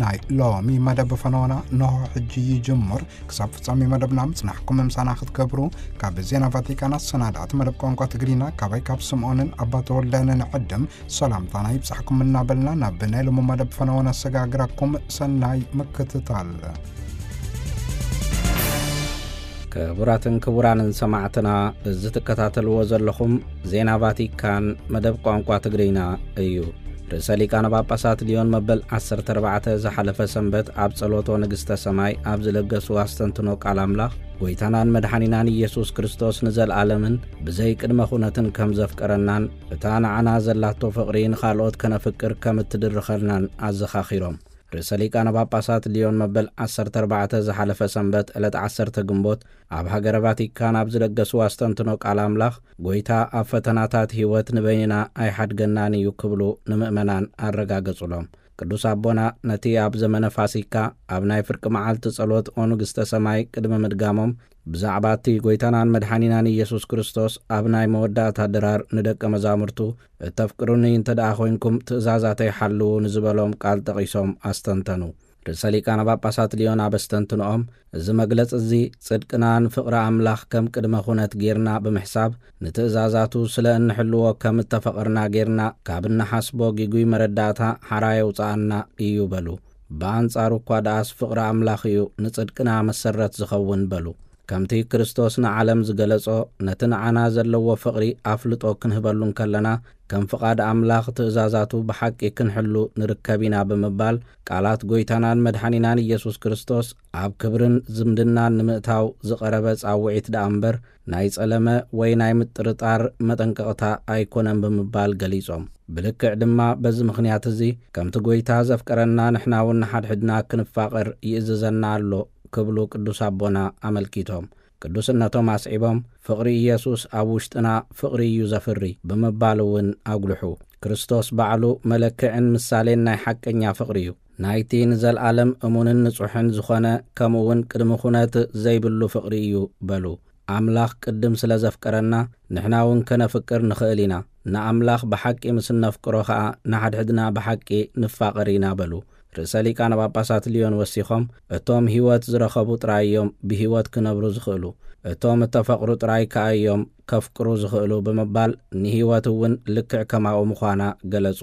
ናይ ሎሚ መደብ ፈነወና ነሆ ሕጂ ይጅምር። ክሳብ ፍጻሜ መደብና ምጽናሕኩም ምሳና ክትገብሩ ካብ ዜና ቫቲካን ኣሰናዳእቲ መደብ ቋንቋ ትግርኛ ካባይ ካብ ስምዖንን ኣባ ተወልደንን ዕድም ሰላምታና ይብጻሕኩም እናበልና ናብ ናይ ሎሚ መደብ ፈነወና ኣሰጋግራኩም። ሰናይ ምክትታል። ክቡራትን ክቡራንን ሰማዕትና፣ እዚ ትከታተልዎ ዘለኹም ዜና ቫቲካን መደብ ቋንቋ ትግርኛ እዩ። ርእሰ ሊቃነ ጳጳሳት ሊዮን መበል ዓሰርተ ኣርባዕተ ዝሓለፈ ሰንበት ኣብ ጸሎቶ ንግስተ ሰማይ ኣብ ዝለገሱ ኣስተንትኖ ቃል ኣምላኽ፣ ጎይታናን መድሓኒናን ኢየሱስ ክርስቶስ ንዘለኣለምን ብዘይ ቅድመ ኩነትን ከም ዘፍቀረናን እታ ንዓና ዘላቶ ፍቕሪ ንኻልኦት ከነፍቅር ከም እትድርኸልናን ኣዘኻኺሮም። ርእሰ ሊቃነ ጳጳሳት ሊዮን መበል ዓሰርተ ኣርባዕተ ዝሓለፈ ሰንበት ዕለት ዓሰርተ ግንቦት ኣብ ሃገረ ቫቲካን ኣብ ዝለገስዎ ኣስተንትኖ ቃል ኣምላኽ፣ ጎይታ ኣብ ፈተናታት ህይወት ንበይንና ኣይሓድገናን እዩ ክብሉ ንምእመናን ኣረጋገጹሎም። ቅዱስ ኣቦና ነቲ ኣብ ዘመነ ፋሲካ ኣብ ናይ ፍርቂ መዓልቲ ጸሎት ኦ ንግስተ ሰማይ ቅድሚ ምድጋሞም፣ ብዛዕባ እቲ ጎይታናን መድሓኒናን ኢየሱስ ክርስቶስ ኣብ ናይ መወዳእታ ድራር ንደቀ መዛሙርቱ፣ "እተፍቅሩኒ እንተ ደኣ ኾይንኩም ትእዛዛተይ ሓልዉ" ንዝበሎም ቃል ጠቒሶም ኣስተንተኑ። ርእሰ ሊቃነ ጳጳሳት ሊዮን ኣብ ኣስተንትኖኦም፣ እዚ መግለጺ እዚ ጽድቅና ንፍቕሪ ኣምላኽ ከም ቅድመ ኩነት ጌርና ብምሕሳብ፣ ንትእዛዛቱ ስለ እንሕልዎ ከም እተፈቐርና ጌርና ካብ እንሓስቦ ጊጉይ መረዳእታ ሓራ የውጽኣና እዩ በሉ። ብኣንጻሩ እኳ ደኣስ ፍቕሪ ኣምላኽ እዩ ንጽድቅና መሰረት ዝኸውን በሉ። ከምቲ ክርስቶስ ንዓለም ዝገለጾ፣ ነቲ ንዓና ዘለዎ ፍቕሪ ኣፍልጦ ክንህበሉ እንከለና፣ ከም ፍቓድ ኣምላኽ ትእዛዛቱ ብሓቂ ክንሕሉ ንርከብ ኢና ብምባል፣ ቃላት ጎይታናን መድሓኒናን ኢየሱስ ክርስቶስ ኣብ ክብርን ዝምድናን ንምእታው ዝቐረበ ጻውዒት ደኣ እምበር፣ ናይ ጸለመ ወይ ናይ ምጥርጣር መጠንቀቕታ ኣይኮነን ብምባል ገሊጾም። ብልክዕ ድማ በዚ ምኽንያት እዚ፣ ከምቲ ጎይታ ዘፍቀረና ንሕና እውን ንሓድሕድና ክንፋቐር ይእዝዘና ኣሎ ክብሉ ቅዱስ ኣቦና ኣመልኪቶም። ቅዱስነቶም ኣስዒቦም፣ "ፍቕሪ ኢየሱስ ኣብ ውሽጥና ፍቕሪ እዩ ዘፍሪ" ብምባል እውን ኣጉልሑ። "ክርስቶስ ባዕሉ መለክዕን ምሳሌን ናይ ሓቀኛ ፍቕሪ እዩ። ናይቲ ንዘለኣለም እሙንን ንጹሕን ዝኾነ፣ ከምኡ እውን ቅድሚ ኩነት ዘይብሉ ፍቕሪ እዩ" በሉ። ኣምላኽ ቅድም ስለ ዘፍቀረና፣ ንሕና እውን ከነፍቅር ንኽእል ኢና። ንኣምላኽ ብሓቂ ምስ እነፍቅሮ ኸኣ፣ ንሓድሕድና ብሓቂ ንፋቐር ኢና በሉ። ርእሰ ሊቃነ ጳጳሳት ሊዮን ወሲኾም፣ "እቶም ህይወት ዝረኸቡ ጥራይ እዮም ብህይወት ክነብሩ ዝኽእሉ፣ እቶም እተፈቕሩ ጥራይ ከኣ እዮም ከፍቅሩ ዝኽእሉ" ብምባል፣ ንህይወት እውን ልክዕ ከማኡ ምዃና ገለጹ።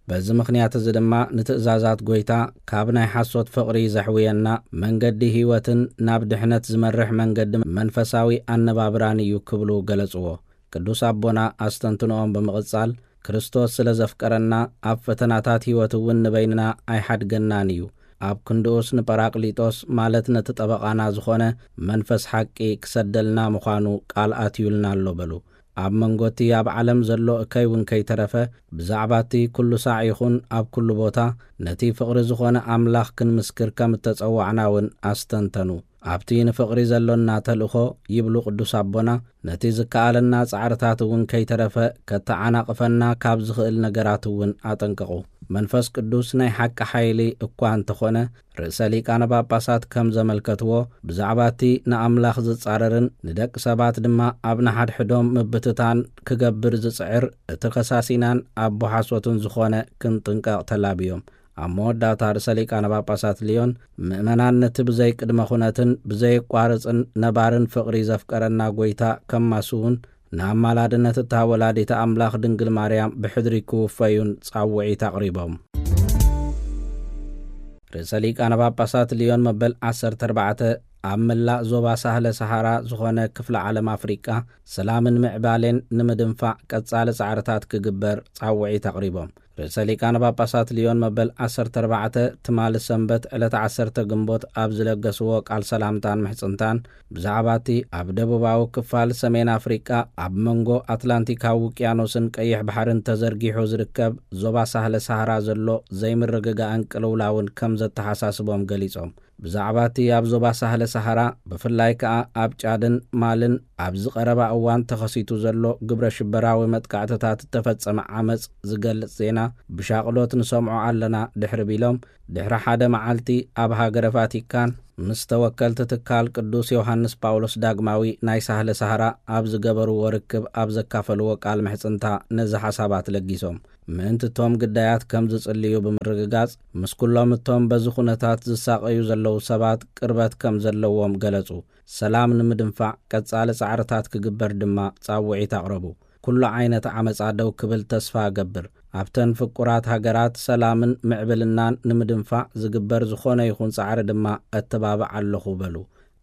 በዚ ምኽንያት እዚ ድማ፣ ንትእዛዛት ጐይታ ካብ ናይ ሓሶት ፍቕሪ ዘሕውየና መንገዲ ህይወትን ናብ ድሕነት ዝመርሕ መንገዲ መንፈሳዊ ኣነባብራን እዩ ክብሉ ገለጽዎ። ቅዱስ ኣቦና ኣስተንትኖኦም ብምቕጻል፣ "ክርስቶስ ስለ ዘፍቀረና፣ ኣብ ፈተናታት ህይወት እውን ንበይንና ኣይሓድገናን እዩ። ኣብ ክንድኡስ ንጳራቅሊጦስ፣ ማለት ነቲ ጠበቓና ዝኾነ መንፈስ ሓቂ ክሰደልና ምዃኑ ቃል ኣትዩልና ኣሎ" በሉ። ኣብ መንጎ እቲ ኣብ ዓለም ዘሎ እከይ እውን ከይተረፈ፣ ብዛዕባ እቲ ኩሉ ሳዕ ይኹን ኣብ ኩሉ ቦታ ነቲ ፍቕሪ ዝኾነ ኣምላኽ ክንምስክር ከም እተጸዋዕና እውን ኣስተንተኑ። ኣብቲ ንፍቕሪ ዘሎና ተልእኾ፣ ይብሉ ቅዱስ ኣቦና፣ ነቲ ዝከኣለና ጻዕርታት እውን ከይተረፈ ከተዓናቕፈና ካብ ዝኽእል ነገራት እውን ኣጠንቀቑ። መንፈስ ቅዱስ ናይ ሓቂ ሓይሊ እኳ እንተኾነ፣ ርእሰ ሊቃነ ጳጳሳት ከም ዘመልከትዎ፣ ብዛዕባ እቲ ንኣምላኽ ዝጻረርን ንደቂ ሰባት ድማ ኣብ ንሓድሕዶም ምብትታን ክገብር ዝጽዕር፣ እቲ ከሳሲናን ኣቦ ሓሶትን ዝኾነ ክንጥንቀቕ ተላብዮም። ኣብ መወዳእታ ርእሰ ሊቃነ ጳጳሳት ሊዮን፣ ምእመናን ነቲ ብዘይ ቅድመ ኩነትን ብዘየቋርጽን ነባርን ፍቕሪ ዘፍቀረና ጐይታ ከማስዉን፣ ንኣማላድነት እታ ወላዲተ ኣምላኽ ድንግል ማርያም ብሕድሪ ክውፈዩን ጻውዒት ኣቕሪቦም። ርእሰ ሊቃነ ጳጳሳት ሊዮን መበል ዓሰርተ ኣርባዕተ፣ ኣብ መላእ ዞባ ሳህለ ሰሃራ ዝኾነ ክፍለ ዓለም ኣፍሪቃ፣ ሰላምን ምዕባሌን ንምድንፋዕ ቀጻሊ ጻዕርታት ክግበር ጻውዒት ኣቕሪቦም። ርእሰ ሊቃነ ጳጳሳት ሊዮን መበል ዓሰርተ ኣርባዕተ፣ ትማሊ ሰንበት ዕለት ዓሰርተ ግንቦት ኣብ ዝለገስዎ ቃል ሰላምታን ምሕጽንታን፣ ብዛዕባ እቲ ኣብ ደቡባዊ ክፋል ሰሜን ኣፍሪቃ፣ ኣብ መንጎ ኣትላንቲካዊ ውቅያኖስን ቀይሕ ባሕርን ተዘርጊሑ ዝርከብ ዞባ ሳህለ ሰሃራ ዘሎ ዘይምርግጋእን ቅልውላውን ከም ዘተሓሳስቦም ገሊጾም። ብዛዕባ እቲ ኣብ ዞባ ሳህለ ሰሃራ፣ ብፍላይ ከኣ ኣብ ጫድን ማልን ኣብዚ ቀረባ እዋን ተኸሲቱ ዘሎ ግብረ ሽበራዊ መጥቃዕትታት እተፈጸመ ዓመጽ ዝገልጽ ዜና ብሻቕሎት ንሰምዖ ኣለና ድሕሪ ቢሎም፣ ድሕሪ ሓደ መዓልቲ ኣብ ሃገረ ቫቲካን ምስ ተወከልቲ ትካል ቅዱስ ዮሃንስ ጳውሎስ ዳግማዊ ናይ ሳህለ ሳህራ ኣብ ዝገበርዎ ርክብ ኣብ ዘካፈልዎ ቃል ምሕጽንታ ነዚ ሓሳባት ለጊሶም። ምእንቲ እቶም ግዳያት ከም ዝጽልዩ ብምርግጋጽ፣ ምስ ኩሎም እቶም በዚ ኩነታት ዝሳቐዩ ዘለዉ ሰባት ቅርበት ከም ዘለዎም ገለጹ። ሰላም ንምድንፋዕ ቀጻሊ ጻዕርታት ክግበር ድማ ጻውዒት ኣቕረቡ። ኩሉ ዓይነት ዓመጻ ደው ክብል ተስፋ እገብር። ኣብተን ፍቁራት ሃገራት ሰላምን ምዕብልናን ንምድንፋዕ ዝግበር ዝኾነ ይኹን ጻዕሪ ድማ እተባብዕ ኣለኹ በሉ።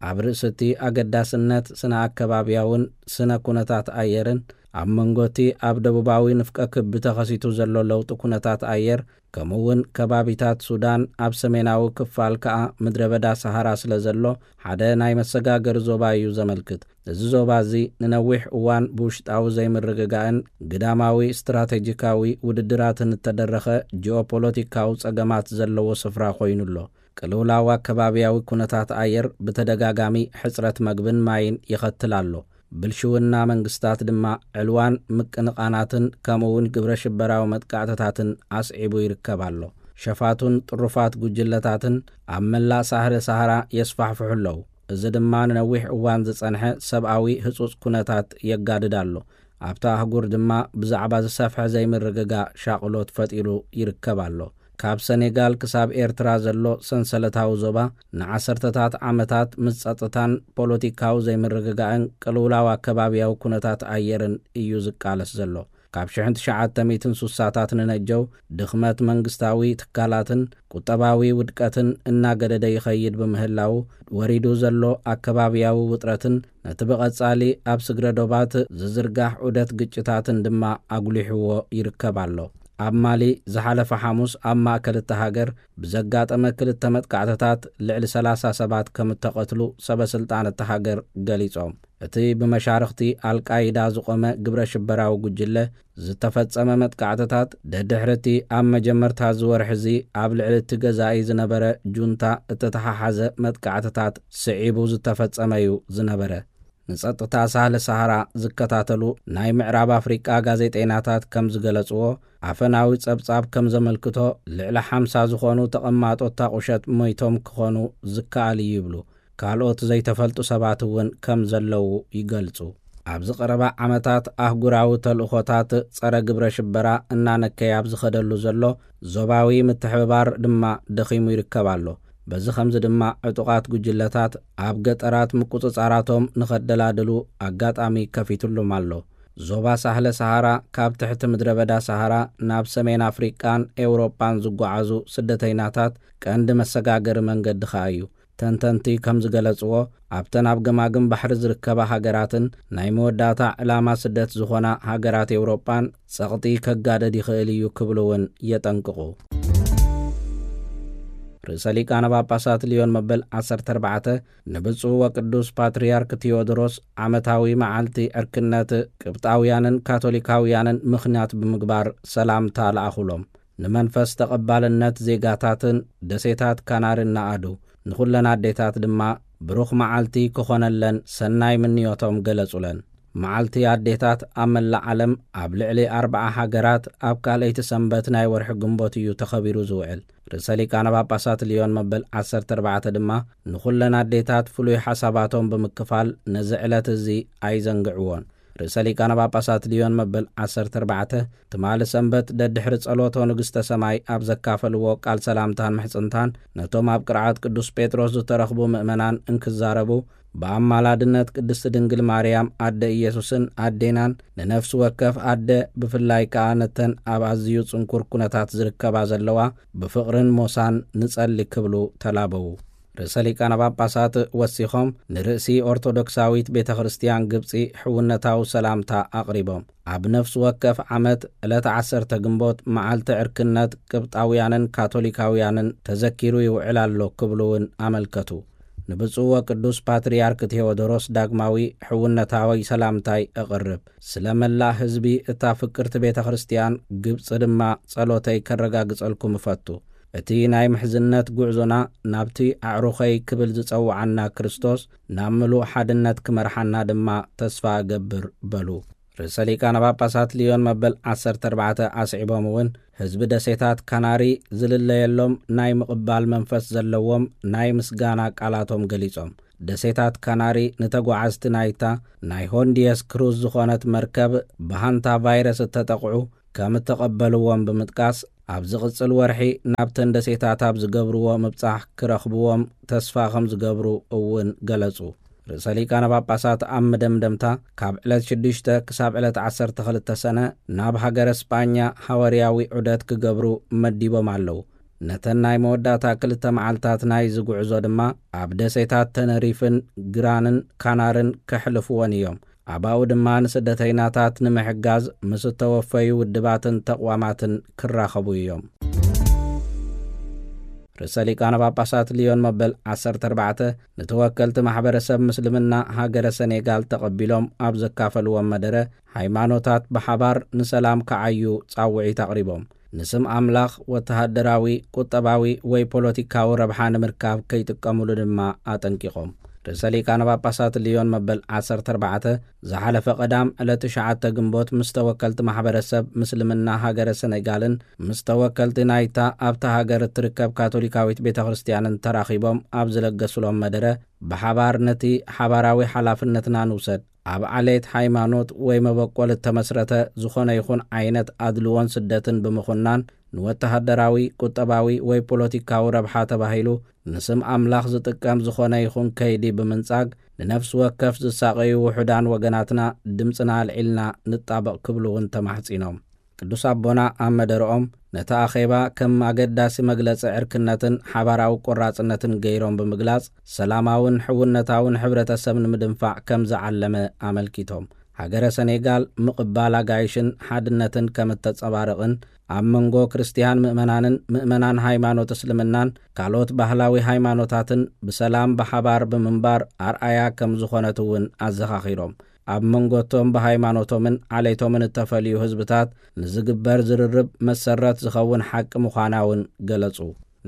ኣብ ርእሲ እቲ ኣገዳስነት ስነ ኣከባብያውን ስነ ኩነታት ኣየርን ኣብ መንጎ እቲ ኣብ ደቡባዊ ንፍቀ ክቢ ተኸሲቱ ዘሎ ለውጢ ኩነታት ኣየር፣ ከምኡ እውን ከባቢታት ሱዳን ኣብ ሰሜናዊ ክፋል ከኣ ምድረ በዳ ሰሃራ ስለ ዘሎ ሓደ ናይ መሰጋገሪ ዞባ እዩ ዘመልክት። እዚ ዞባ እዚ ንነዊሕ እዋን ብውሽጣዊ ዘይምርግጋእን ግዳማዊ ስትራቴጂካዊ ውድድራትን እተደረኸ ጂኦፖለቲካዊ ጸገማት ዘለዎ ስፍራ ኮይኑ ኣሎ። ቅልውላው ኣከባብያዊ ኩነታት ኣየር ብተደጋጋሚ ሕጽረት መግብን ማይን ይኸትል ኣሎ። ብልሽውና መንግስታት ድማ ዕልዋን ምቅንቓናትን ከምኡ እውን ግብረ ሽበራዊ መጥቃዕትታትን ኣስዒቡ ይርከብ ኣሎ። ሸፋቱን ጥሩፋት ጉጅለታትን ኣብ መላእ ሳህረ ሳህራ የስፋሕፍሑ ኣለዉ። እዚ ድማ ንነዊሕ እዋን ዝጸንሐ ሰብኣዊ ህጹጽ ኩነታት የጋድድ ኣሎ። ኣብታ ኣህጉር ድማ ብዛዕባ ዝሰፍሐ ዘይምርግጋእ ሻቕሎት ፈጢሩ ይርከብ ኣሎ። ካብ ሰኔጋል ክሳብ ኤርትራ ዘሎ ሰንሰለታዊ ዞባ ንዓሰርተታት ዓመታት ምስ ጸጥታን ፖለቲካዊ ዘይምርግጋእን ቅልውላው ኣከባብያዊ ኩነታት ኣየርን እዩ ዝቃለስ ዘሎ። ካብ ሽሕን ትሽዓተ ሚእትን ሱሳታት ንነጀው ድኽመት መንግስታዊ ትካላትን ቁጠባዊ ውድቀትን እናገደደ ይኸይድ ብምህላው፣ ወሪዱ ዘሎ ኣከባብያዊ ውጥረትን ነቲ ብቐጻሊ ኣብ ስግረ ዶባት ዝዝርጋሕ ዑደት ግጭታትን ድማ ኣጉሊሕዎ ይርከብ ኣሎ። ኣብ ማሊ ዝሓለፈ ሓሙስ ኣብ ማእከል እታ ሃገር ብዘጋጠመ ክልተ መጥቃዕትታት ልዕሊ ሰላሳ ሰባት ከም እተቐትሉ ሰበ ስልጣን እታ ሃገር ገሊጾም። እቲ ብመሻርኽቲ ኣልቃይዳ ዝቖመ ግብረ ሽበራዊ ጉጅለ ዝተፈጸመ መጥቃዕትታት፣ ደድሕሪ እቲ ኣብ መጀመርታ እዚ ወርሒ እዚ ኣብ ልዕሊ እቲ ገዛኢ ዝነበረ ጁንታ እተተሓሓዘ መጥቃዕትታት ስዒቡ ዝተፈጸመ እዩ ዝነበረ። ንጸጥታ ሳህለ ሳሃራ ዝከታተሉ ናይ ምዕራብ ኣፍሪቃ ጋዜጠይናታት ከም ዝገለጽዎ፣ ኣፈናዊ ጸብጻብ ከም ዘመልክቶ፣ ልዕሊ ሓምሳ ዝኾኑ ተቐማጦ እታ ቁሸት ሞይቶም ክኾኑ ዝከኣል እዩ ይብሉ። ካልኦት ዘይተፈልጡ ሰባት እውን ከም ዘለዉ ይገልጹ። ኣብዚ ቀረባ ዓመታት ኣህጉራዊ ተልእኾታት ጸረ ግብረ ሽበራ እናነከየ ኣብ ዝኸደሉ ዘሎ፣ ዞባዊ ምትሕብባር ድማ ደኺሙ ይርከብ ኣሎ። በዚ ኸምዚ ድማ ዕጡቓት ጉጅለታት ኣብ ገጠራት ምቁጽጻራቶም ንኸደላድሉ ኣጋጣሚ ከፊትሉም ኣሎ። ዞባ ሳህለ ሰሃራ፣ ካብ ትሕቲ ምድረ በዳ ሰሃራ ናብ ሰሜን ኣፍሪቃን ኤውሮጳን ዝጓዓዙ ስደተይናታት ቀንዲ መሰጋገሪ መንገዲ ኸኣ እዩ። ተንተንቲ ከም ዝገለጽዎ፣ ኣብተን ኣብ ገማግም ባሕሪ ዝርከባ ሃገራትን ናይ መወዳእታ ዕላማ ስደት ዝኾና ሃገራት ኤውሮጳን ጸቕጢ ከጋደድ ይኽእል እዩ ክብሉ እውን የጠንቅቑ። ርእሰ ሊቃነ ጳጳሳት ሊዮን መበል ዓሰርተ ኣርባዕተ ንብፁዕ ወቅዱስ ፓትርያርክ ቴዎድሮስ ዓመታዊ መዓልቲ ዕርክነት ቅብጣውያንን ካቶሊካውያንን ምኽንያት ብምግባር ሰላምታ ለኣኹሎም። ንመንፈስ ተቐባልነት ዜጋታትን ደሴታት ካናሪ እናኣዱ፣ ንኹለን ኣዴታት ድማ ብሩኽ መዓልቲ ክኾነለን ሰናይ ምንዮቶም ገለጹለን። መዓልቲ ኣዴታት ኣብ መላእ ዓለም ኣብ ልዕሊ ኣርብዓ ሃገራት ኣብ ካልኣይቲ ሰንበት ናይ ወርሒ ግንቦት እዩ ተኸቢሩ ዝውዕል። ርእሰ ሊቃነ ጳጳሳት ሊዮን መበል ዓሰርተ ኣርባዕተ ድማ ንኹለን ኣዴታት ፍሉይ ሓሳባቶም ብምክፋል ነዚ ዕለት እዚ ኣይዘንግዕዎን። ርእሰ ሊቃነ ጳጳሳት ሊዮን መበል ዓሰርተ ኣርባዕተ ትማሊ ሰንበት ደድሕሪ ጸሎቶ ንግስተ ሰማይ ኣብ ዘካፈልዎ ቃል ሰላምታን ምሕጽንታን፣ ነቶም ኣብ ቅርዓት ቅዱስ ጴጥሮስ ዝተረኽቡ ምእመናን እንክዛረቡ፣ ብኣማላድነት ቅድስቲ ድንግል ማርያም ኣደ ኢየሱስን ኣዴናን፣ ንነፍሲ ወከፍ ኣደ ብፍላይ ከኣ ነተን ኣብ ኣዝዩ ጽንኩር ኩነታት ዝርከባ ዘለዋ ብፍቕርን ሞሳን ንጸሊ ክብሉ ተላበዉ። ርእሰ ሊቃነ ጳጳሳት ወሲኾም ንርእሲ ኦርቶዶክሳዊት ቤተ ክርስቲያን ግብጺ ሕውነታዊ ሰላምታ ኣቕሪቦም፣ ኣብ ነፍሲ ወከፍ ዓመት ዕለት ዓሰርተ ግንቦት መዓልቲ ዕርክነት ቅብጣውያንን ካቶሊካውያንን ተዘኪሩ ይውዕል ኣሎ ክብሉ እውን ኣመልከቱ። ንብፁዕ ወቅዱስ ፓትርያርክ ቴዎዶሮስ ዳግማዊ ሕውነታዊ ሰላምታይ እቕርብ። ስለ መላእ ህዝቢ እታ ፍቅርቲ ቤተ ክርስቲያን ግብጺ ድማ ጸሎተይ ከረጋግጸልኩም እፈቱ። እቲ ናይ ምሕዝነት ጉዕዞና ናብቲ ኣዕሩኸይ ክብል ዝጸውዓና ክርስቶስ ናብ ምሉእ ሓድነት ክመርሓና ድማ ተስፋ እገብር በሉ። ርእሰ ሊቃነ ጳጳሳት ሊዮን መበል ዓሰርተ ኣርባዕተ ኣስዒቦም እውን ህዝቢ ደሴታት ካናሪ ዝልለየሎም ናይ ምቕባል መንፈስ ዘለዎም ናይ ምስጋና ቃላቶም ገሊጾም። ደሴታት ካናሪ ንተጓዓዝቲ ናይታ ናይ ሆንዲየስ ክሩዝ ዝኾነት መርከብ ብሃንታ ቫይረስ እተጠቕዑ ከም እተቐበልዎም ብምጥቃስ፣ ኣብ ዝቕጽል ወርሒ ናብተን ደሴታት ኣብ ዝገብርዎ ምብጻሕ ክረኽብዎም ተስፋ ከም ዝገብሩ እውን ገለጹ። ርእሰ ሊቃነ ጳጳሳት ኣብ መደምደምታ፣ ካብ ዕለት ሽዱሽተ ክሳብ ዕለት ዓሰርተ ክልተ ሰነ ናብ ሃገረ ስጳኛ ሃዋርያዊ ዑደት ክገብሩ መዲቦም ኣለዉ። ነተን ናይ መወዳእታ ክልተ መዓልታት ናይዚ ጉዕዞ ድማ ኣብ ደሴታት ተነሪፍን ግራንን ካናርን ከሕልፍወን እዮም። ኣባኡ ድማ ንስደተይናታት ንምሕጋዝ ምስ እተወፈዩ ውድባትን ተቕዋማትን ክራኸቡ እዮም። ርእሰ ሊቃነ ጳጳሳት ሊዮን መበል ዓሰርተ ኣርባዕተ ንተወከልቲ ማሕበረሰብ ምስልምና ሃገረ ሰኔጋል ተቐቢሎም ኣብ ዘካፈልዎም መደረ፣ ሃይማኖታት ብሓባር ንሰላም ክዓዩ ጻውዒት ኣቕሪቦም። ንስም ኣምላኽ ወተሃደራዊ፣ ቁጠባዊ ወይ ፖለቲካዊ ረብሓ ንምርካብ ከይጥቀሙሉ ድማ ኣጠንቂቖም። ርእሰ ሊቃነ ጳጳሳት ሊዮን መበል ዓሰርተ ኣርባዕተ ዝሓለፈ ቀዳም ዕለት ትሽዓተ ግንቦት ምስ ተወከልቲ ማሕበረሰብ ምስልምና ሃገረ ሰኔጋልን ምስ ተወከልቲ ናይታ ኣብታ ሃገር እትርከብ ካቶሊካዊት ቤተ ክርስቲያንን ተራኺቦም ኣብ ዝለገሱሎም መደረ፣ ብሓባር ነቲ ሓባራዊ ሓላፍነትና ንውሰድ። ኣብ ዓሌት፣ ሃይማኖት ወይ መበቆል እተመስረተ ዝኾነ ይኹን ዓይነት ኣድልዎን ስደትን ብምኹናን፣ ንወተሃደራዊ፣ ቁጠባዊ ወይ ፖለቲካዊ ረብሓ ተባሂሉ ንስም ኣምላኽ ዝጥቀም ዝኾነ ይኹን ከይዲ ብምንጻግ፣ ንነፍሲ ወከፍ ዝሳቐዩ ውሑዳን ወገናትና ድምጽና ኣልዒልና ንጣበቕ ክብሉ እውን ተማሕጺኖም። ቅዱስ ኣቦና ኣብ መደረኦም፣ ነቲ ኣኼባ ከም ኣገዳሲ መግለጺ ዕርክነትን ሓባራዊ ቆራጽነትን ገይሮም ብምግላጽ፣ ሰላማውን ሕውነታውን ሕብረተሰብ ንምድንፋዕ ከም ዝዓለመ ኣመልኪቶም። ሃገረ ሰኔጋል ምቕባል ኣጋይሽን ሓድነትን ከም እተጸባርቕን፣ ኣብ መንጎ ክርስትያን ምእመናንን ምእመናን ሃይማኖት እስልምናን ካልኦት ባህላዊ ሃይማኖታትን ብሰላም ብሓባር ብምንባር ኣርኣያ ከም ዝኾነት እውን ኣዘኻኺሮም። ኣብ መንጎቶም ብሃይማኖቶምን ዓሌቶምን እተፈልዩ ህዝብታት ንዝግበር ዝርርብ መሰረት ዝኸውን ሓቂ ምዃና እውን ገለጹ።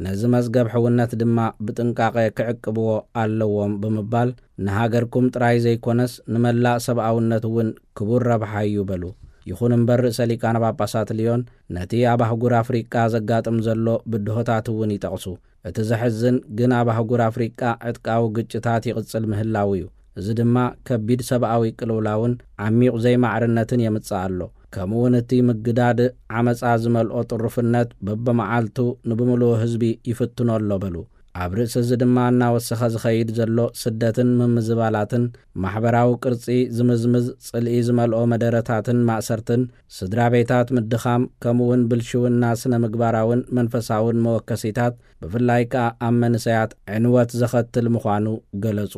ነዚ መዝገብ ሕውነት ድማ ብጥንቃቐ ክዕቅብዎ ኣለዎም ብምባል፣ ንሃገርኩም ጥራይ ዘይኮነስ ንመላእ ሰብኣውነት እውን ክቡር ረብሓ እዩ በሉ። ይኹን እምበር፣ ርእሰ ሊቃነ ጳጳሳት ሊዮን ነቲ ኣብ ኣህጉር ኣፍሪቃ ዘጋጥም ዘሎ ብድሆታት እውን ይጠቕሱ። እቲ ዘሕዝን ግን፣ ኣብ ኣህጉር ኣፍሪቃ ዕጥቃዊ ግጭታት ይቕጽል ምህላዉ እዩ። እዚ ድማ ከቢድ ሰብኣዊ ቅልውላውን ዓሚቕ ዘይማዕርነትን የምጽእ ኣሎ። ከምኡውን እቲ ምግዳድ ዓመጻ ዝመልኦ ጥሩፍነት በብመዓልቱ ንብምሉኡ ህዝቢ ይፍትኖ ኣሎ በሉ። ኣብ ርእሲ እዚ ድማ እናወሰኸ ዝኸይድ ዘሎ ስደትን ምምዝባላትን፣ ማሕበራዊ ቅርጺ ዝምዝምዝ ጽልኢ ዝመልኦ መደረታትን ማእሰርትን፣ ስድራ ቤታት ምድኻም፣ ከምኡውን ብልሽውና ስነ ምግባራውን መንፈሳውን መወከሲታት፣ ብፍላይ ከኣ ኣብ መንሰያት ዕንወት ዘኸትል ምዃኑ ገለጹ።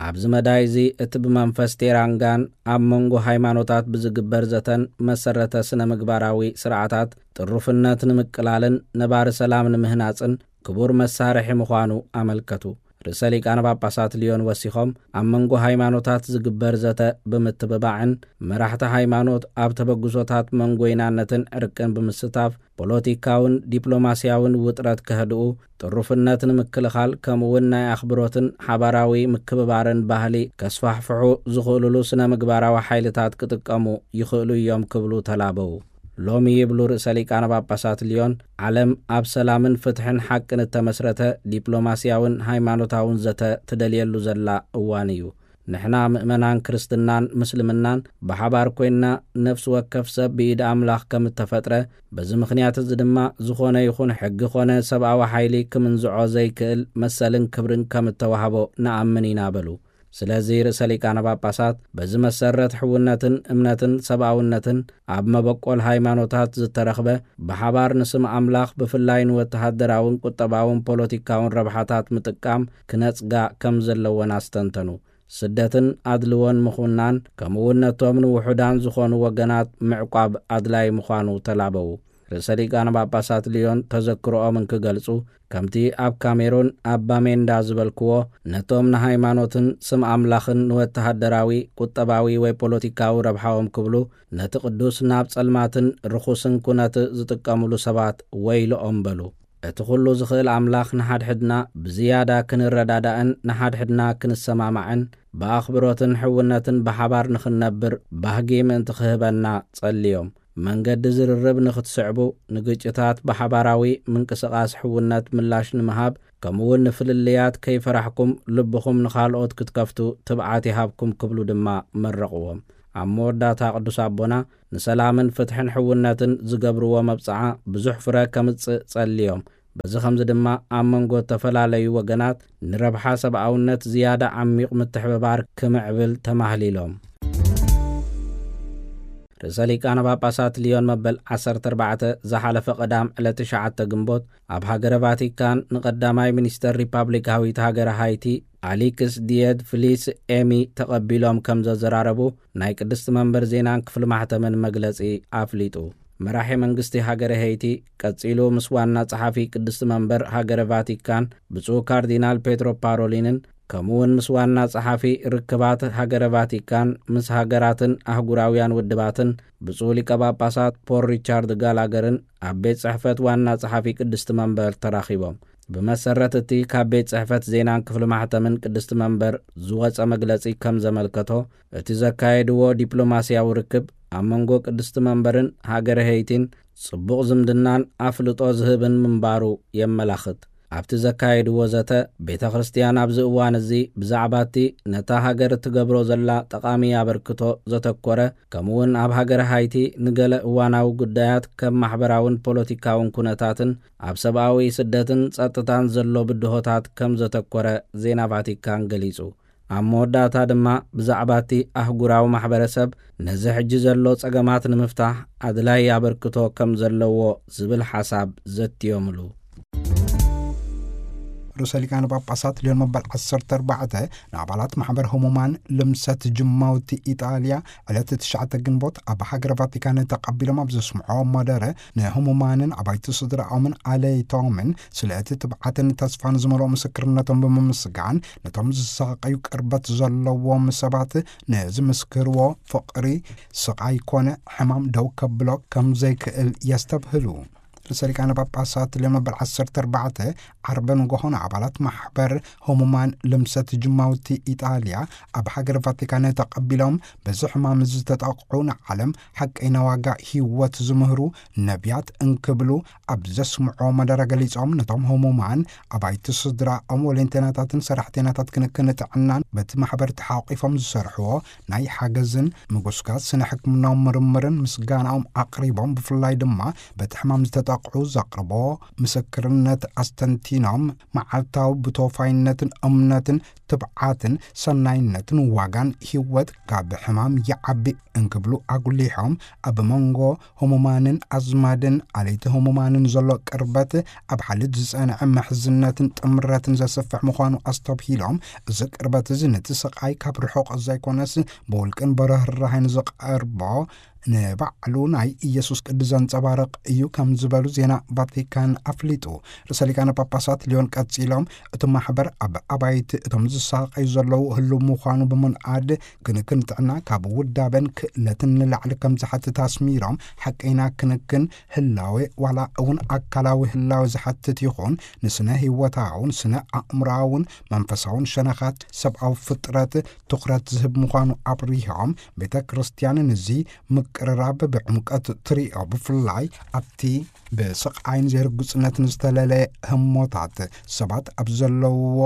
ኣብዚ መዳይ እዚ፣ እቲ ብመንፈስ ቴራንጋን ኣብ መንጎ ሃይማኖታት ብዝግበር ዘተን መሰረተ ስነ ምግባራዊ ስርዓታት ጥሩፍነት ንምቅላልን ነባሪ ሰላም ንምህናጽን ክቡር መሳርሒ ምዃኑ ኣመልከቱ። ርእሰ ሊቃነ ጳጳሳት ሊዮን ወሲኾም፣ ኣብ መንጎ ሃይማኖታት ዝግበር ዘተ ብምትብባዕን መራሕቲ ሃይማኖት ኣብ ተበግሶታት መንጎይናነትን ዕርቅን ብምስታፍ፣ ፖለቲካውን ዲፕሎማስያውን ውጥረት ከህድኡ፣ ጥሩፍነት ንምክልኻል፣ ከምኡውን ናይ ኣኽብሮትን ሓባራዊ ምክብባርን ባህሊ ከስፋሕፍሑ ዝኽእሉሉ ስነ ምግባራዊ ሓይልታት ክጥቀሙ ይኽእሉ እዮም ክብሉ ተላበዉ። ሎሚ፣ ይብሉ ርእሰ ሊቃነ ጳጳሳት ሊዮን፣ ዓለም ኣብ ሰላምን ፍትሕን ሓቅን እተመስረተ ዲፕሎማስያውን ሃይማኖታውን ዘተ ትደልየሉ ዘላ እዋን እዩ። ንሕና ምእመናን ክርስትናን ምስልምናን ብሓባር ኮይንና፣ ነፍሲ ወከፍ ሰብ ብኢድ ኣምላኽ ከም እተፈጥረ፣ በዚ ምኽንያት እዚ ድማ ዝኾነ ይኹን ሕጊ ኾነ ሰብኣዊ ሓይሊ ክምንዝዖ ዘይክእል መሰልን ክብርን ከም እተዋህቦ ንኣምን ኢና በሉ። ስለዚ ርእሰ ሊቃነ ጳጳሳት በዚ መሰረት ሕውነትን እምነትን ሰብኣውነትን ኣብ መበቆል ሃይማኖታት ዝተረኽበ፣ ብሓባር ንስም ኣምላኽ ብፍላይ ንወተሃደራውን ቁጠባውን ፖለቲካውን ረብሓታት ምጥቃም ክነጽጋ ከም ዘለወን ኣስተንተኑ። ስደትን ኣድልዎን ምኹናን፣ ከምኡውን ነቶም ንውሑዳን ዝኾኑ ወገናት ምዕቋብ ኣድላይ ምዃኑ ተላበዉ። ርእሰ ሊቃነ ጳጳሳት ሊዮን ተዘክሮኦም እንክገልጹ፣ ከምቲ ኣብ ካሜሩን ኣብ ባሜንዳ ዝበልክዎ፣ ነቶም ንሃይማኖትን ስም ኣምላኽን ንወተሃደራዊ፣ ቁጠባዊ ወይ ፖለቲካዊ ረብሓኦም ክብሉ ነቲ ቅዱስ ናብ ጸልማትን ርኹስን ኩነት ዝጥቀሙሉ ሰባት ወይልኦም በሉ። እቲ ኩሉ ዝኽእል ኣምላኽ ንሓድሕድና ብዝያዳ ክንረዳዳእን ንሓድሕድና ክንሰማማዕን ብኣኽብሮትን ሕውነትን ብሓባር ንኽንነብር ባህጊ ምእንቲ ክህበና ጸልዮም። መንገዲ ዝርርብ ንኽትስዕቡ፣ ንግጭታት ብሓባራዊ ምንቅስቓስ ሕውነት ምላሽ ንምሃብ፣ ከምኡውን ንፍልልያት ከይፈራሕኩም ልብኹም ንኻልኦት ክትከፍቱ ትብዓት ይሃብኩም ክብሉ ድማ መረቕዎም። ኣብ መወዳእታ ቅዱስ ኣቦና ንሰላምን ፍትሕን ሕውነትን ዝገብርዎ መብጽዓ ብዙሕ ፍረ ከምጽእ ጸልዮም። በዚ ኸምዚ ድማ ኣብ መንጎ እተፈላለዩ ወገናት ንረብሓ ሰብኣውነት ዝያዳ ዓሚቕ ምትሕብባር ክምዕብል ተማህሊሎም። ርእሰ ሊቃነ ጳጳሳት ሊዮን መበል ዓሰርተ ኣርባዕተ ዝሓለፈ ቀዳም ዕለት ትሽዓተ ግንቦት ኣብ ሃገረ ቫቲካን ንቐዳማይ ሚኒስተር ሪፓብሊካዊት ሃገረ ሃይቲ ኣሊክስ ዲየድ ፍሊስ ኤሚ ተቐቢሎም ከም ዘዘራረቡ ናይ ቅድስቲ መንበር ዜናን ክፍሊ ማሕተምን መግለጺ ኣፍሊጡ። መራሒ መንግስቲ ሃገረ ሄይቲ ቀጺሉ ምስ ዋና ጸሓፊ ቅድስቲ መንበር ሃገረ ቫቲካን ብፁዕ ካርዲናል ፔትሮ ፓሮሊንን ከምኡውን ምስ ዋና ጸሓፊ ርክባት ሃገረ ቫቲካን ምስ ሃገራትን ኣህጉራውያን ውድባትን ብፁዕ ሊቀ ጳጳሳት ፖል ሪቻርድ ጋላገርን ኣብ ቤት ጽሕፈት ዋና ጸሓፊ ቅድስቲ መንበር ተራኺቦም። ብመሰረት እቲ ካብ ቤት ጽሕፈት ዜናን ክፍሊ ማሕተምን ቅድስቲ መንበር ዝወጸ መግለጺ ከም ዘመልከቶ፣ እቲ ዘካየድዎ ዲፕሎማስያዊ ርክብ ኣብ መንጎ ቅድስቲ መንበርን ሃገረ ሄይቲን ጽቡቕ ዝምድናን ኣፍልጦ ዝህብን ምንባሩ የመላኽት። ኣብቲ ዘካየድዎ ዘተ፣ ቤተ ክርስቲያን ኣብዚ እዋን እዚ ብዛዕባ እቲ ነታ ሃገር እትገብሮ ዘላ ጠቓሚ ኣበርክቶ ዘተኮረ፣ ከምኡውን ኣብ ሃገረ ሃይቲ ንገለ እዋናዊ ጉዳያት ከም ማሕበራውን ፖለቲካውን ኩነታትን ኣብ ሰብኣዊ ስደትን ጸጥታን ዘሎ ብድሆታት ከም ዘተኮረ ዜና ቫቲካን ገሊጹ። ኣብ መወዳእታ ድማ ብዛዕባ እቲ ኣህጉራዊ ማሕበረሰብ ነዚ ሕጂ ዘሎ ጸገማት ንምፍታሕ ኣድላይ ኣበርክቶ ከም ዘለዎ ዝብል ሓሳብ ዘትዮምሉ። ርእሰ ሊቃነ ጳጳሳት ሊዮን መበል ዓሰርተ ኣርባዕተ ንኣባላት ማሕበር ህሙማን ልምሰት ጅማውቲ ኢጣልያ ዕለት ትሽዓተ ግንቦት ኣብ ሃገረ ቫቲካን ተቐቢሎም ኣብ ዘስምዖ መደረ፣ ንህሙማንን ኣባይቲ ስድራኦምን ኣለይቶምን ስለ እቲ ትብዓትን ተስፋን ዝመልኦ ምስክርነቶም ብምምስጋን፣ ነቶም ዝሳቐዩ ቅርበት ዘለዎም ሰባት ንዝምስክርዎ ፍቕሪ፣ ስቓይ ኮነ ሕማም ደው ከብሎ ከም ዘይክእል የስተብህሉ። ርእሰ ሊቃነ ጳጳሳት ሊዮን መበል ዓሰርተ ኣርባዕተ ዓርቢ ንጎሆ ንኣባላት ማሕበር ህሙማን ልምሰት ጅማውቲ ኢጣልያ ኣብ ሃገር ቫቲካን ተቐቢሎም፣ በዚ ሕማም ዝተጠቕዑ ንዓለም ሓቀይና ዋጋ ህይወት ዝምህሩ ነቢያት እንክብሉ ኣብ ዘስምዖ መደረ ገሊጾም፣ ነቶም ህሙማን ኣባይቲ ስድራኦም፣ ወለንተናታትን ሰራሕተናታት ክንክን ጥዕናን በቲ ማሕበር ተሓቂፎም ዝሰርሕዎ ናይ ሓገዝን ምጉስጋስ ስነ ሕክምናዊ ምርምርን ምስጋናኦም ኣቕሪቦም፣ ብፍላይ ድማ በቲ ሕማም ዝተጠቕዑ ዘቕርቦ ምስክርነት ኣስተንቲኖም፣ መዓልታዊ ብተወፋይነትን እምነትን ትብዓትን ሰናይነትን ዋጋን ህይወት ካብ ሕማም ይዓቢ እንክብሉ ኣጉሊሖም፣ ኣብ መንጎ ህሙማንን ኣዝማድን ኣለይቲ ህሙማንን ዘሎ ቅርበት ኣብ ሓልዮት ዝጸንዐ ምሕዝነትን ጥምረትን ዘስፍሕ ምዃኑ ኣስተብሂሎም፣ እዚ ቅርበት እዚ ነቲ ስቓይ ካብ ርሑቕ ዘይኮነስ ብውልቅን ብርህራሄን ዝቐርቦ ንባዕሉ ናይ ኢየሱስ ቅዲ ዘንጸባርቕ እዩ ከም ዝበሉ ዜና ቫቲካን ኣፍሊጡ። ርእሰ ሊቃነ ጳጳሳት ሊዮን ቀጺሎም፣ እቲ ማሕበር ኣብ ኣባይቲ እቶም ዝሳቐዩ ዘለዉ ህሉው ምዃኑ ብምንኣድ፣ ክንክን ጥዕና ካብ ውዳበን ክእለትን ንላዕሊ ከም ዝሓትት ኣስሚሮም፣ ሓቀይና ክንክን ህላዌ ዋላ እውን ኣካላዊ ህላዌ ዝሓትት ይኹን፣ ንስነ ህይወታውን ስነ ኣእምሮኣውን መንፈሳውን ሸነኻት ሰብኣዊ ፍጥረት ትኹረት ዝህብ ምዃኑ ኣብሪሆም፣ ቤተ ክርስቲያን ንዚ ምቅርራብ ብዕምቀት ትሪኦ፣ ብፍላይ ኣብቲ ብስቓይን ዘይርጉጽነትን ዝተለለየ ህሞታት ሰባት ኣብ ዘለውዎ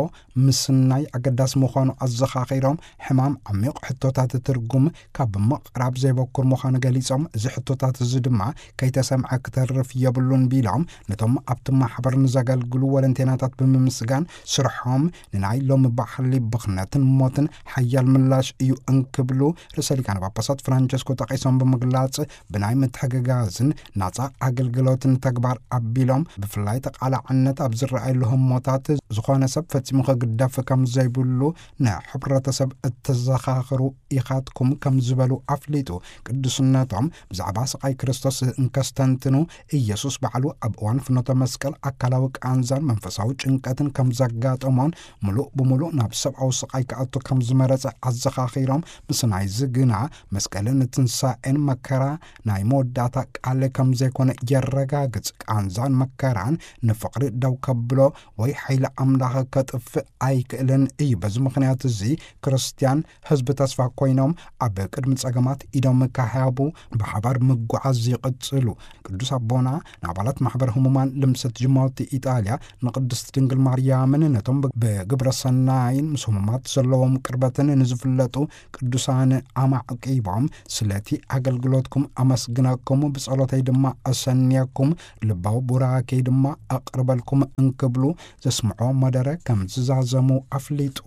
ምስናይ ኣገዳሲ ምዃኑ ኣዘኻኺሮም፣ ሕማም ዓሚቕ ሕቶታት ትርጉም ካብ ምቕራብ ዘይበኩር ምዃኑ ገሊጾም፣ እዚ ሕቶታት እዚ ድማ ከይተሰምዐ ክተርፍ የብሉን ቢሎም፣ ነቶም ኣብቲ ማሕበር ንዘገልግሉ ወለንቴናታት ብምምስጋን፣ ስርሖም ንናይ ሎሚ ባህሊ ብኽነትን ሞትን ሓያል ምላሽ እዩ እንክብሉ ርእሰ ሊቃነ ጳጳሳት ፍራንቸስኮ ጠቒሶም ብምግላጽ፣ ብናይ ምትሕግጋዝን ናጻ ኣገልግሎትን ተግባር ኣቢሎም፣ ብፍላይ ተቓላዕነት ኣብ ዝረኣየሉ ህሞታት፣ ዝኾነ ሰብ ፈጺሙ ክግደፍ ከም ዘይብሉ ንሕብረተሰብ እተዘኻኽሩ ኢኻትኩም ከም ዝበሉ ኣፍሊጡ። ቅዱስነቶም ብዛዕባ ስቓይ ክርስቶስ እንከስተንትኑ፣ ኢየሱስ ባዕሉ ኣብ እዋን ፍኖተ መስቀል ኣካላዊ ቃንዛን መንፈሳዊ ጭንቀትን ከም ዘጋጠሞን፣ ምሉእ ብምሉእ ናብ ሰብኣዊ ስቓይ ክኣቱ ከም ዝመረጸ ኣዘኻኺሮም፣ ምስ ናይዚ ግና መስቀልን ትንሳኤን መከራ ናይ መወዳእታ ቃል ከም ዘይኮነ የረጋ ክረጋግጽ፣ ቃንዛን መከራን ንፍቕሪ ደው ከብሎ ወይ ሓይሊ ኣምላኽ ከጥፍእ ኣይክእልን እዩ። በዚ ምኽንያት እዚ ክርስትያን ህዝቢ ተስፋ ኮይኖም ኣብ ቅድሚ ጸገማት ኢዶም ካህያቡ ብሓባር ምጉዓዝ ይቕጽሉ። ቅዱስ ኣቦና ንኣባላት ማሕበር ህሙማን ልምሰት ጅማውቲ ኢጣልያ ንቅድስት ድንግል ማርያምን ነቶም ብግብረ ሰናይን ምስ ህሙማት ዘለዎም ቅርበትን ንዝፍለጡ ቅዱሳን ኣማዕቂቦም፣ ስለቲ ኣገልግሎትኩም ኣመስግነኩም፣ ብጸሎተይ ድማ ኣሰንየኩም፣ ልባዊ ቡራኬይ ድማ ኣቕርበልኩም እንክብሉ ዘስምዖ መደረ ከም ዝዛዘሙ ኣፍሊጡ።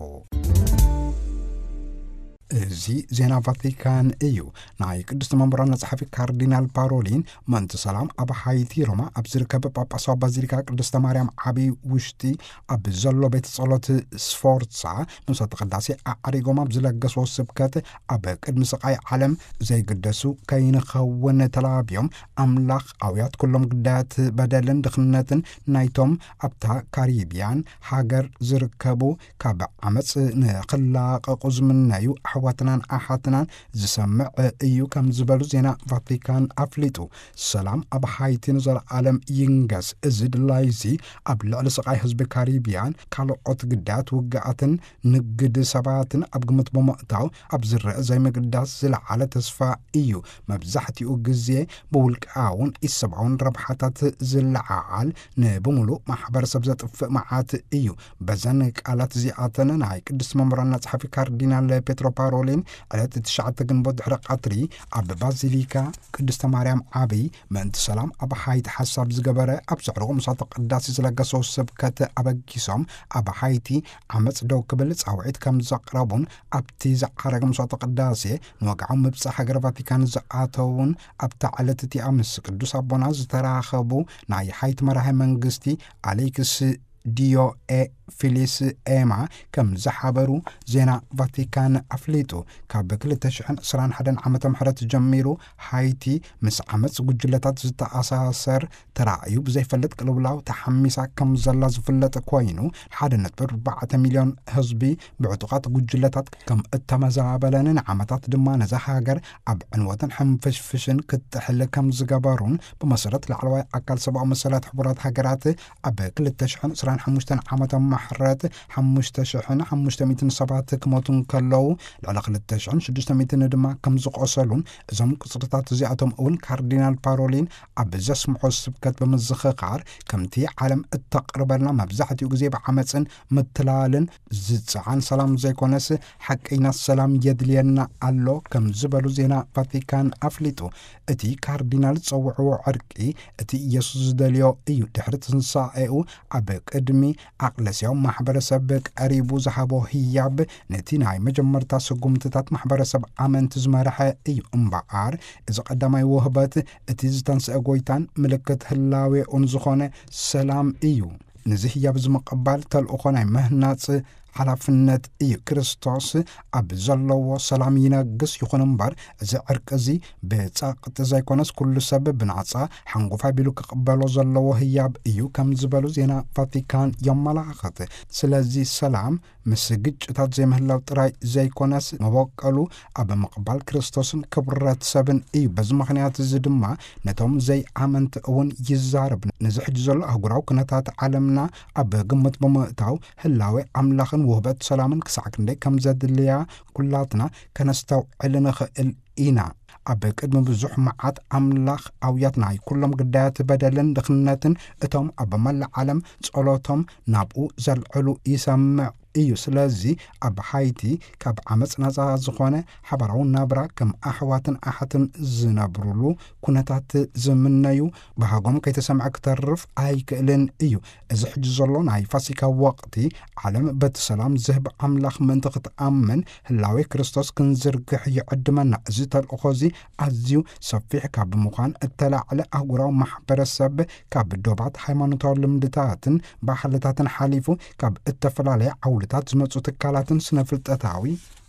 እዚ ዜና ቫቲካን እዩ። ናይ ቅድስቲ መንበራና ጸሓፊ ካርዲናል ፓሮሊን፣ ምእንቲ ሰላም ኣብ ሃይቲ ሮማ ኣብ ዝርከብ ጳጳሳዊ ባዚሊካ ቅድስተ ማርያም ዓብዪ ውሽጢ ኣብ ዘሎ ቤት ጸሎት ስፎርሳ ንምስራተ ቅዳሴ ኣዕሪጎም ኣብ ዝለገስዎ ስብከት፣ ኣብ ቅድሚ ስቓይ ዓለም ዘይግደሱ ከይንኸውን ተላብዮም፣ ኣምላኽ ኣውያት ኩሎም ግዳያት በደልን ድኽነትን ናይቶም ኣብታ ካሪብያን ሃገር ዝርከቡ ካብ ዓመጽ ንኽላቐቑ ዝምነዩ ኣሕዋትናን ኣሓትናን ዝሰምዕ እዩ ከም ዝበሉ ዜና ቫቲካን ኣፍሊጡ። ሰላም ኣብ ሃይቲ ንዘለዓለም ይንገስ። እዚ ድላይ እዚ ኣብ ልዕሊ ስቓይ ህዝቢ ካሪብያን ካልኦት ግዳያት ውግኣትን ንግድ ሰባትን ኣብ ግምት ብምእታው ኣብ ዝረአ ዘይምግዳስ ዝለዓለ ተስፋ እዩ። መብዛሕትኡ ግዜ ብውልቃውን ኢሰብኣውን ረብሓታት ዝለዓዓል፣ ንብምሉእ ማሕበረሰብ ዘጥፍእ መዓት እዩ። በዘን ቃላት እዚኣተን ናይ ቅድስቲ መንበራና ጸሓፊ ካርዲናል ፔትሮ ፓሮሊን ዕለት ትሽዓተ ግንቦት ድሕሪ ቀትሪ ኣብ ባዚሊካ ቅድስተ ማርያም ዓብይ ምእንቲ ሰላም ኣብ ሃይቲ ሓሳብ ዝገበረ ኣብ ዘዕርጎ ምሳተ ቅዳሴ ዝለገሰው ስብከት ኣበጊሶም፣ ኣብ ሃይቲ ዓመጽ ደው ክብል ጻውዒት ከም ዘቕረቡን ኣብቲ ዝዓረገ ምሳተ ቅዳሴ ንወግዓዊ ምብጻሕ ሃገረ ቫቲካን ዝኣተውን ኣብታ ዕለት እቲኣ ምስ ቅዱስ ኣቦና ዝተራኸቡ ናይ ሃይቲ መራሒ መንግስቲ ኣሌክስ ዲዮ ኤ ፊሊስ ኤማ ከም ዝሓበሩ ዜና ቫቲካን ኣፍሊጡ። ካብ ክልተ ሽሕን ዕስራን ሓደን ዓመተ ምሕረት ጀሚሩ ሃይቲ ምስ ዓመጽ ጉጅለታት ዝተኣሳሰር ተራእዩ ብዘይፈልጥ ቅልውላው ተሓሚሳ ከም ዘላ ዝፍለጥ ኮይኑ፣ ሓደ ነጥቢ ኣርባዕተ ሚልዮን ህዝቢ ብዕጡቓት ጉጅለታት ከም እተመዛበለን ንዓመታት ድማ ነዛ ሃገር ኣብ ዕንወትን ሕንፍሽፍሽን ክትጥሕል ከም ዝገበሩን ብመሰረት ላዕለዋይ ኣካል ሰብኣዊ መሰላት ሕቡራት ሃገራት ኣብ ክልተ ሽሕን ዕስራን ሓሙሽተን ዓመተ ምሕረት ሓሙሽተ ሽሕን ሓሙሽተ ሚእትን ሰባት ክሞቱ እንከለዉ፣ ልዕሊ ክልተ ሽሕን ሽዱሽተ ሚእትን ድማ ከም ዝቖሰሉን፣ እዞም ቁጽርታት እዚኣቶም እውን ካርዲናል ፓሮሊን ኣብ ዘስምዖ ስብከት ብምዝኽኻር፣ ከምቲ ዓለም እተቕርበልና መብዛሕትኡ ግዜ ብዓመጽን ምትላልን ዝጸዓን ሰላም ዘይኮነስ፣ ሓቀይና ሰላም የድልየና ኣሎ ከም ዝበሉ ዜና ቫቲካን ኣፍሊጡ። እቲ ካርዲናል ዝጸውዕዎ ዕርቂ፣ እቲ ኢየሱስ ዝደልዮ እዩ። ድሕሪ ትንሳኤኡ ኣብ ቅድሚ ኣቕለስያዊ ማሕበረሰብ ቀሪቡ ዝሃቦ ህያብ፣ ነቲ ናይ መጀመርታ ስጉምትታት ማሕበረሰብ ኣመንቲ ዝመርሐ እዩ። እምበኣር፣ እዚ ቀዳማይ ውህበት፣ እቲ ዝተንስአ ጎይታን ምልክት ህላዌኡን ዝኾነ ሰላም እዩ። ነዚ ህያብ እዚ ምቕባል ተልእኾ ናይ ምህናጽ ሓላፍነት እዩ። ክርስቶስ ኣብ ዘለዎ ሰላም ይነግስ። ይኹን እምበር፣ እዚ ዕርቂ እዚ ብጸቕጢ ዘይኮነስ፣ ኩሉ ሰብ ብናጻ ሓንጎፋይ ቢሉ ክቕበሎ ዘለዎ ህያብ እዩ ከም ዝበሉ ዜና ቫቲካን የመላኽት። ስለዚ ሰላም ምስ ግጭታት ዘይምህላው ጥራይ ዘይኮነስ፣ መበቀሉ ኣብ ምቕባል ክርስቶስን ክብረት ሰብን እዩ። በዚ ምኽንያት እዚ ድማ ነቶም ዘይኣመንቲ እውን ይዛረብ። ነዚ ሕጂ ዘሎ ኣህጉራዊ ኩነታት ዓለምና ኣብ ግምት ብምእታው፣ ህላዌ ኣምላኽን ውህበት ሰላምን ክሳዕ ክንደይ ከም ዘድልያ ኩላትና ከነስተውዕል ንኽእል ኢና። ኣብ ቅድሚ ብዙሕ መዓት ኣምላኽ ኣውያት ናይ ኩሎም ግዳያት በደልን ድኽነትን፣ እቶም ኣብ መላእ ዓለም ጸሎቶም ናብኡ ዘልዕሉ ይሰምዕ እዩ። ስለዚ ኣብ ሃይቲ ካብ ዓመጽ ናጻ ዝኾነ ሓባራዊ ናብራ፣ ከም ኣሕዋትን ኣሓትን ዝነብሩሉ ኩነታት ዝምነዩ ባህጎም ከይተሰምዐ ክተርፍ ኣይክእልን እዩ። እዚ ሕጂ ዘሎ ናይ ፋሲካ ወቕቲ፣ ዓለም በቲ ሰላም ዝህብ ኣምላኽ ምእንቲ ክትኣምን፣ ህላዌ ክርስቶስ ክንዝርግሕ ይዕድመና። እዚ ተልእኾ እዚ ኣዝዩ ሰፊሕ ካብ ምዃን እተላዕለ፣ ኣህጉራዊ ማሕበረሰብ ካብ ዶባት፣ ሃይማኖታዊ ልምድታትን ባህልታትን ሓሊፉ፣ ካብ እተፈላለየ ዓውድታት ዝመጹ ትካላትን ስነ-ፍልጠታዊ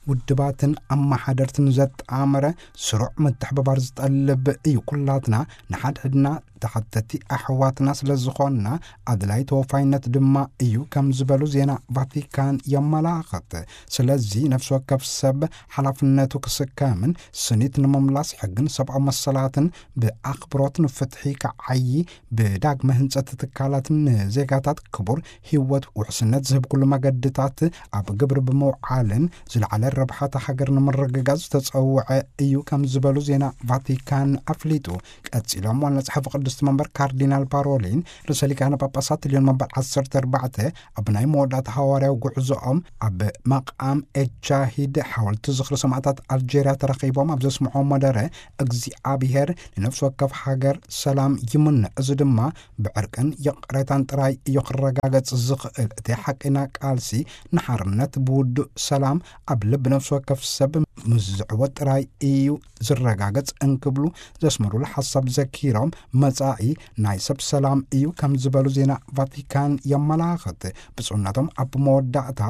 ውድባትን ኣመሓደርትን ዘጣመረ ስሩዕ ምትሕብባር ዝጠልብ እዩ። ኩላትና ንሓድሕድና ተሓተቲ ኣሕዋትና ስለ ዝኾንና ኣድላይ ተወፋይነት ድማ እዩ ከም ዝበሉ ዜና ቫቲካን የመላኽት። ስለዚ ነፍሲ ወከፍ ሰብ ሓላፍነቱ ክስከምን ስኒት ንምምላስ ሕግን ሰብኣዊ መሰላትን ብኣኽብሮት ንፍትሒ ክዓዪ ብዳግመ ህንጸት ትካላትን ንዜጋታት ክቡር ህይወት ውሕስነት ዝህብ ኩሉ መገድታት ኣብ ግብሪ ብምውዓልን ዝለዓለ ረብሓታ ሃገር ንምርግጋጽ ዝተጸውዐ እዩ ከም ዝበሉ ዜና ቫቲካን ኣፍሊጡ። ቀጺሎም ዋና ጸሓፊ ቅድስቲ መንበር ካርዲናል ፓሮሊን ርእሰ ሊቃነ ጳጳሳት ልዮን መንበር ዓሰርተ ኣርባዕተ ኣብ ናይ መወዳእታ ሃዋርያዊ ጉዕዞኦም ኣብ መቃም ኤጃሂድ ሓወልቲ ዝኽሪ ሰማዕታት ኣልጄርያ ተረኺቦም ኣብ ዘስምዖ መደረ እግዚኣብሔር ንነፍሲ ወከፍ ሃገር ሰላም ይምነ፣ እዚ ድማ ብዕርቅን ይቕሬታን ጥራይ እዩ ክረጋገጽ ዝኽእል። እቲ ሓቂና ቃልሲ ንሓርነት ብውዱእ ሰላም ኣብ ልብ ነፍሲ ወከፍ ሰብ ምስ ዝዕወት ጥራይ እዩ ዝረጋገጽ እንክብሉ ዘስመሩሉ ሓሳብ ዘኪሮም፣ መጻኢ ናይ ሰብ ሰላም እዩ ከም ዝበሉ ዜና ቫቲካን የመላኽት። ብፁዕነቶም ኣብ መወዳእታ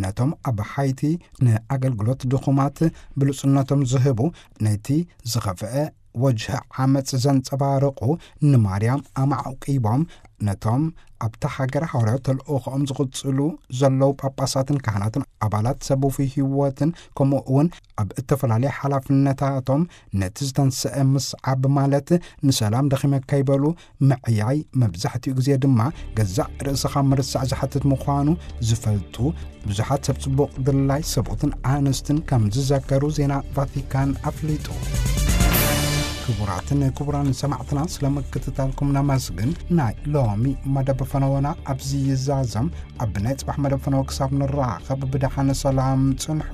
ነቶም ኣብ ሓይቲ ንኣገልግሎት ድኹማት ብሉጽነቶም ዝህቡ፣ ነቲ ዝኸፍአ ወጅህ ዓመጽ ዘንጸባርቑ ንማርያም ኣማዕቂቦም ነቶም ኣብታ ሃገር ሃዋርያዊ ተልእኾኦም ዝቕጽሉ ዘለዉ ጳጳሳትን ካህናትን ኣባላት ሰብ ውፉይ ህይወትን ከምኡ እውን ኣብ እተፈላለየ ሓላፍነታቶም ነቲ ዝተንስአ ምስዓብ ማለት ንሰላም ደኺመ ከይበሉ ምዕያይ መብዛሕትኡ ግዜ ድማ ገዛእ ርእስኻ ምርሳዕ ዝሓትት ምዃኑ ዝፈልጡ ብዙሓት ሰብ ጽቡቕ ድላይ ሰብኡትን ኣንስትን ከም ዝዘከሩ ዜና ቫቲካን ኣፍሊጡ። ክቡራትን ክቡራን ሰማዕትና ስለ ምክትታልኩም ነመስግን። ናይ ሎሚ መደብ ፈነወና ኣብዚ ይዛዘም። ኣብ ናይ ጽባሕ መደብ ፈነወ ክሳብ ንራኸብ ብደሓን ሰላም ጽንሑ።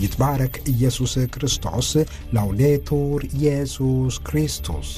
ይትባረክ ኢየሱስ ክርስቶስ። ላውዴቱር ኢየሱስ ክርስቶስ።